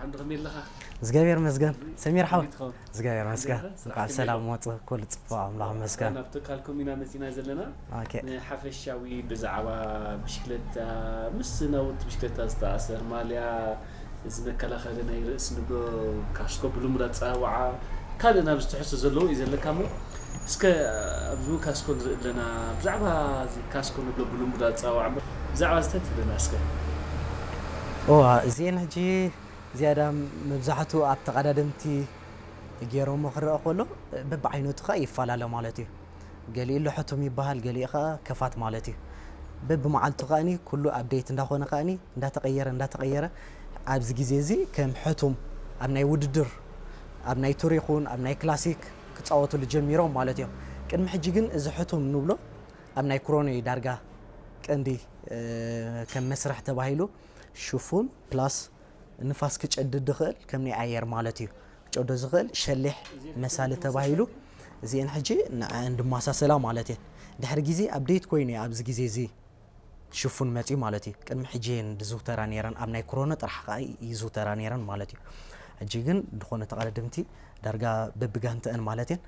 እንድኸመይ ኣለኻ? እግዚኣብሔር መስገን። ሰሚር ሓው። ከመይ ትኸውን? እግዚኣብሔር መስገን። እንዴት ነህ? እንኳዕ ሰላም መጽእ፣ ኩሉ ጽቡቕ፣ ኣምላኽ መስገን። ናብ ትካል ኮሚና መጺና ዘለና። ኦኬ። ንሓፈሻዊ ብዛዕባ ብሽክለታ፣ ምስ ናውቲ ብሽክለታ ዝተኣሰር ማልያ፣ እዚ መከላኸሊ ናይ ርእሲ ንብሎ፣ ካስኮ ብልሙድ ኣጸዋውዓ፣ ካልእ ናብ ዝተሕሶ ዘለዎ እዩ ዘለካ እሞ፣ እስከ ኣብዚ እውን ካስኮ ንርኢ ኣለና። ብዛዕባ እዚ ካስኮ ንብሎ ብልሙድ ኣጸዋውዓ እምበር፣ ብዛዕባ እዚ እንታይ ትብለና እስከ? ኦ፣ እዚኤን ሕጂ ዝያዳ መብዛሕትኡ ኣብ ተቐዳደምቲ ገይሮሞ ክረአ ከሎ፣ በብዓይነቱ ኸኣ ይፈላለ ማለት እዩ። ገሊኡ ኣሎ ሕቱም ይበሃል፣ ገሊኡ ኸኣ ከፋት ማለት እዩ። በብመዓልቱ ከኣኒ ኩሉ ኣፕዴት እንዳኾነ ከኣኒ እንዳተቐየረ እንዳተቐየረ ኣብዚ ግዜ እዚ ከም ሕቱም ኣብ ናይ ውድድር፣ ኣብ ናይ ቱር ይኹን ኣብ ናይ ክላሲክ ክጻወቱሉ ጀሚሮም ማለት እዮም። ቅድሚ ሕጂ ግን እዚ ሕቱም ንብሎ ኣብ ናይ ክሮኖ እዩ ዳርጋ ቀንዲ፣ እ፣ ከም መስርሕ ተባሂሉ ሽፉን ፕላስ ንፋስ ክጨድድ ዝኽእል ከም ናይ ኣየር ማለት እዩ። ክጨዶ ዝኽእል ሸሊሕ መሳሊ ተባሂሉ እዚአን ሕጂ ንዐን ድማሳሰላ ማለት እየን። ድሕሪ ግዜ ኣፕዴት ኮይኑ እዩ ኣብዚ ግዜ እዚ ሽፉን መፅዩ ማለት እዩ። ቅድሚ ሕጂ እየን ዝዝውተራ ነይረን፣ ኣብ ናይ ክሮኖ ጥራሕ ከዓ ይዝውተራ ነይረን ማለት እዩ። ሕጂ ግን ዝኾነ ተቐዳደምቲ ዳርጋ በብጋንተአን ማለት እየን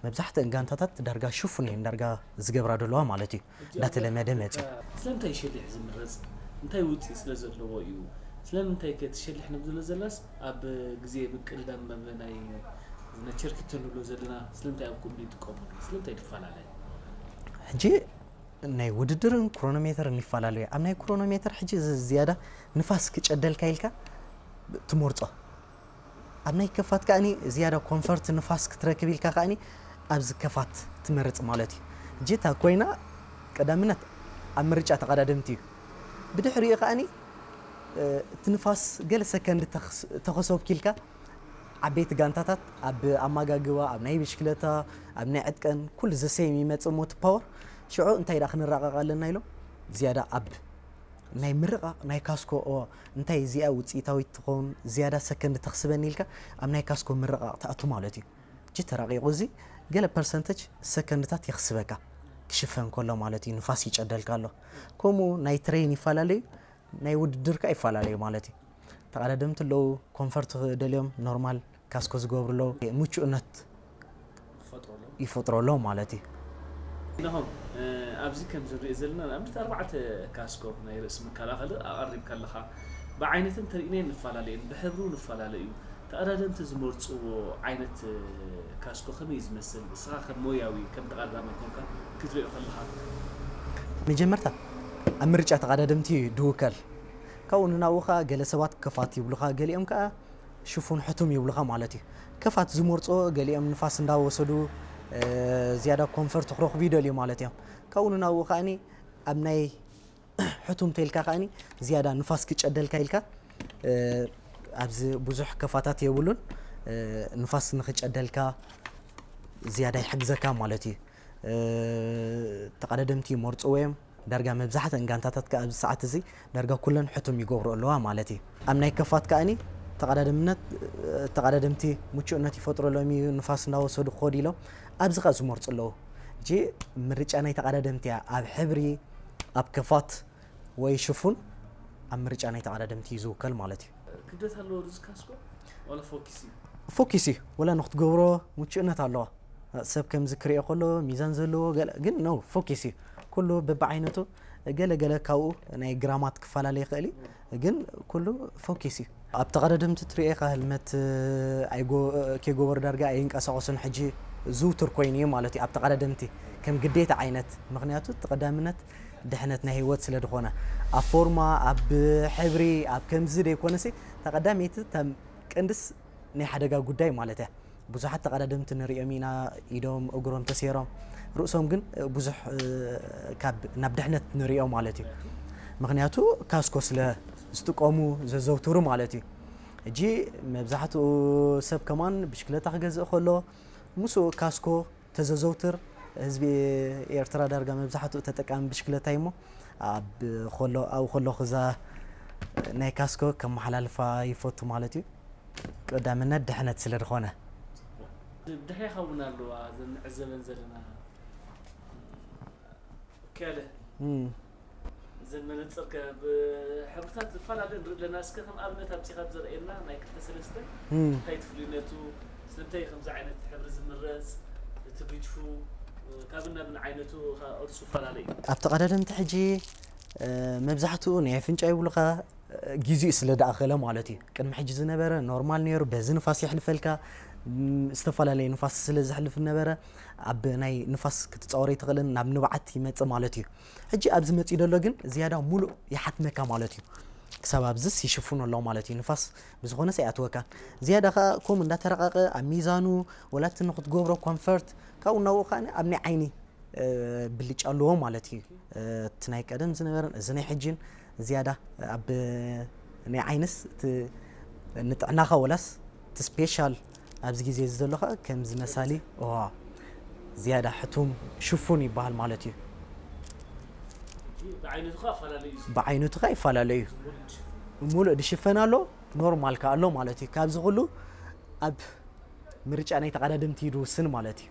መብዛሕትአን ጋንታታት ዳርጋ ሽፉን እየን ዳርጋ ዝገብራ ዘለዋ ማለት እዩ። እንዳተለመደ መፅዩ። ስለምንታይ ሸሊሕ ዝምረፅ? እንታይ ውፅኢት ስለ ዘለዎ እዩ? ስለምንታይ ከ እቲ ሸሊሕ ንብል ዘሎ ዘላስ ኣብ ግዜ ምቅድዳም መብ ናይ ነቸርኪቶ ንብሎ ዘለና ስለምንታይ ኣብ ከምኡ ይጥቀሙሉ? ስለምንታይ ይፈላለ? ሕጂ ናይ ውድድርን ክሮኖሜተርን ይፈላለዩ። ኣብ ናይ ክሮኖሜተር ሕጂ ዝ- ዝያዳ ንፋስ ክጨደልካ ኢልካ ትመርጾ። ኣብ ናይ ከፋት ከኣኒ ዝያዳ ኮንፈርት ንፋስ ክትረክብ ኢልካ ከኣኒ ኣብዚ ከፋት ትመርጽ ማለት እዩ። ሕጂ እታ ኮይና ቀዳምነት ኣብ ምርጫ ተቐዳደምቲ እዩ። ብድሕሪኡ ከኣኒ እቲ ንፋስ ገለ ሰከንድ ተኸስ- ተኸሰብኪ ኢልካ ዓበይቲ ጋንታታት ኣብ ኣመጋግባ፣ ኣብ ናይ ብሽክለታ፣ ኣብ ናይ ዕጥቀን ኩሉ ዘሰይም ይመጽእ እሞ እቲ ፓወር ሽዑ እንታይ ደኣ ክንራቐቕ ኣለና ኢሎም ዝያዳ ኣብ ናይ ምርቓቕ ናይ ካስኮ ኦ እንታይ እዚኣ ውፅኢታዊት ትኸውን ዝያዳ ሰከንድ ተኽስበኒ ኢልካ ኣብ ናይ ካስኮ ምርቓቕ ትኣቱ ማለት እዩ። እጂ ተራቒቑ እዚ ገለ ፐርሰንተጅ ሰከንድታት የኽስበካ ክሽፈን ከሎ ማለት እዩ። ንፋስ ይጨደልካ ኣሎ። ከምኡ ናይ ትሬን ይፈላለዩ ናይ ውድድር ከኣ ይፈላለዩ ማለት እዩ። ተቐዳደምቲ ኣለዉ ኮንፈርት ደልዮም ኖርማል ካስኮ ዝገብሩ ኣለዉ ምቹእነት ይፈጥረሎም ማለት እዩ። እንሆ ኣብዚ ከም ዝንሪኦ ዘለና ንኣብነት ኣርባዕተ ካስኮ ናይ ርእሲ መከላኸሊ ኣቐሪብካ ኣለኻ። ብዓይነትን ተሪእናዮ ንፈላለ እየን፣ ብሕብሩ ንፈላለ እዩ። ተቐዳደምቲ ዝመርፅዎ ዓይነት ካስኮ ከመይ እዩ ዝመስል? ንስኻ ከም ሞያዊ ከም ተቐዳዳማይ ኮንካ ክትሪኦ ከለኻ መጀመርታ ኣብ ምርጫ ተቐዳደምቲ እዩ ድውከል። ካብኡ ንናብኡ ኸዓ ገለ ሰባት ከፋት ይብሉኻ፣ ገሊኦም ከኣ ሽፉን ሕቱም ይብሉኻ ማለት እዩ። ከፋት ዝመርጾ ገሊኦም ንፋስ እንዳወሰዱ ዝያዳ ኮንፈርት ክረኽቡ ይደልዩ ማለት እዮም። ካብኡ ንናብኡ ከኣኒ ኣብ ናይ ሕቱም ተልካ ከኣኒ ዝያዳ ንፋስ ክጨደልካ ኢልካ ኣብዚ ብዙሕ ከፋታት የብሉን። ንፋስ ንክጨደልካ ዝያዳ ይሕግዘካ ማለት እዩ። ተቐዳደምቲ ይመርፅዎ እዮም። ዳርጋ መብዛሕተን ጋንታታት ከኣ ኣብዚ ሰዓት እዚ ዳርጋ ኩለን ሕቱም ይገብሩ ኣለዋ ማለት እዩ። ኣብ ናይ ከፋት ከኣኒ ተቐዳደምነት ተቐዳደምቲ ምቹእነት ይፈጥረሎም እዩ። ንፋስ እናወሰዱ ክኸዱ ኢሎም ኣብዚ ከኣ ዝመርፁ ኣለዉ። እጂ ምርጫ ናይ ተቐዳደምቲ እያ። ኣብ ሕብሪ፣ ኣብ ከፋት ወይ ሽፉን ኣብ ምርጫ ናይ ተቐዳደምቲ እዩ ዝውከል ማለት እዩ። ክብደት ኣለዎ ርዚ ካስኮ ዋላ ፎኪስ እዩ? ፎኪስ እዩ። ወላ ንክትገብሮ ምቹእነት ኣለዋ። ሰብ ከምዚ ክሪኦ ከሎ ሚዛን ዘለዎ ገለ ግን ነው ፎኪስ እዩ። ኩሉ በብዓይነቱ ገለ ገለ ካብኡ ናይ ግራማት ክፈላለ ይኽእል እዩ። ግን ኩሉ ፎኪስ እዩ። ኣብ ተቐዳደምቲ ትሪኦ ኢኻ ህልመት ኣይጎ- ከይጎበሩ ዳርጋ ኣይንቀሳቐሱን። ሕጂ ዝውቱር ኮይኑ እዩ ማለት እዩ ኣብ ተቐዳደምቲ ከም ግዴታ ዓይነት። ምኽንያቱ እቲ ቀዳምነት ድሕነት ናይ ህይወት ስለ ዝኾነ ኣብ ፎርማ ኣብ ሕብሪ ኣብ ከምዚ ደይኮነሲ ተቐዳመይቲ ተም ቀንድስ ናይ ሓደጋ ጉዳይ ማለት እያ። ብዙሓት ተቐዳደምቲ ንሪኦም ኢና፣ ኢዶም እግሮም ተሰይሮም፣ ርእሶም ግን ብዙሕ ካብ ናብ ድሕነት ንሪኦ ማለት እዩ። ምክንያቱ ካስኮ ስለ ዝጥቀሙ ዘዘውትሩ ማለት እዩ። እጂ መብዛሕትኡ ሰብ ከማን ብሽክለታ ክገዝእ ከሎ ምስኡ ካስኮ ተዘዘውትር ህዝቢ ኤርትራ ዳርጋ መብዛሕትኡ ተጠቃሚ ብሽክለታ እዩ እሞ ኣብ ከሎ ኣብኡ ከለኹ እዛ ናይ ካስኮ ከመሓላልፋ ይፈቱ ማለት እዩ። ቀዳምነት ድሕነት ስለ ዝኾነ። ድሕሬኻ እውን ኣለዋ እዘን ንዕዘበን ዘለና። ኦኬ ኣለ። እም። እዘን መነፅር ከ ብሕብርታት ዝፈላለ ንርኢ ኣለና። እስከ ከም ኣብነት ኣምፂኻ ዘርእየና ናይ ክልተ ሰለስተ እንታይ ትፍልዩነቱ፣ ስለምንታይ ከምዚ ዓይነት ሕብሪ ዝምረፅ፣ እቲ ግጅፉ ካብን ናብን ዓይነቱ ቅርፁ ይፈላለ እዩ። ኣብቲ ቀዳድምቲ ሕጂ መብዛሕትኡ ናይ ኣፍንጫ ይብሉኻ ግዜኡ ስለ ደኣኸለ ማለት እዩ። ቅድሚ ሕጂ ዝነበረ ኖርማል ነይሩ፣ በዚ ንፋስ የሕልፈልካ። ዝተፈላለዩ ንፋስ ስለ ዘሕልፍ ነበረ፣ ኣብ ናይ ንፋስ ክትፃወር ይትኽእልን ናብ ንብዓት ይመፅእ ማለት እዩ። ሕጂ ኣብዚ መፂኡ ዘሎ ግን ዝያዳ ሙሉእ ይሓትመካ ማለት እዩ። ክሳብ ኣብዝስ ይሽፍኖ ኣሎ ማለት እዩ። ንፋስ ብዝኾነስ ኣይኣትወካን። ዝያዳ ከዓ ኮም እንዳተረቃቀ ኣብ ሚዛኑ ወላቲ ንክትገብሮ ኮንፈርት ካብኡ ናብኡ ከዓ ኣብ ናይ ዓይኒ ብልጫ ኣለዎ ማለት እዩ። እቲ ናይ ቀደም ዝነበረን እዚ ናይ ሕጂን ዝያዳ ኣብ ናይ ዓይንስ እቲ ንጥዕናኻ ወላስ እቲ ስፔሻል ኣብዚ ግዜ እዚ ዘሎ ከዓ ከምዚ መሳሊ ዝያዳ ሕቱም ሽፉን ይበሃል ማለት እዩ። ብዓይነቱ ከዓ ይፈላለዩ እዩ። ሙሉእ ድሽፈን ኣሎ፣ ኖርማል ከዓ ኣሎ ማለት እዩ። ካብዚ ኩሉ ኣብ ምርጫ ናይ ተቐዳደምቲ እዩ ዝውስን ማለት እዩ።